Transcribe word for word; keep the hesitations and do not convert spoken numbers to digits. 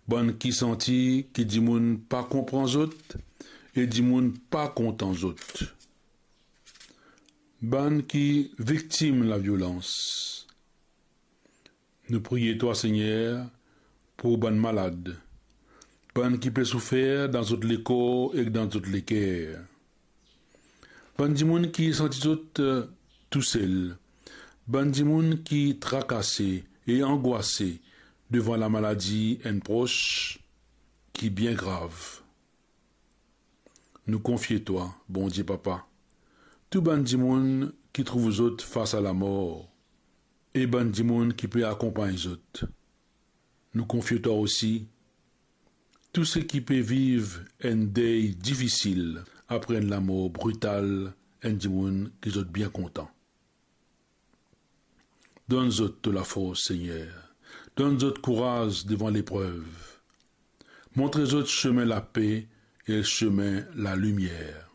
Bann ki santi ki dimoun pa konpran zot e dimoun pa kontan zot. Bann ki viktim laviolans. Nou priye twa, Segner, pou bann malad, bann ki pe soufer dan zot lekor ek dan zot leker. Bann dimoun ki santi zot, eh, tousel, bann dimoun ki trakase e angwase devan lamaladi enn pros ki bien grav. Nou konfie twa, Bondie Papa, tou bann dimoun ki trouv zot fas a lamor e bann dimoun ki pe akonpagn zot. Nou konfie twa osi tou seki pe viv enn dey difisil apre enn lamor brital enn dimoun ki zot bien kontan. Donn zot to lafors, Segner. Donn zot kouraz devan leprev. Montre zot sime lape e sime lalimier.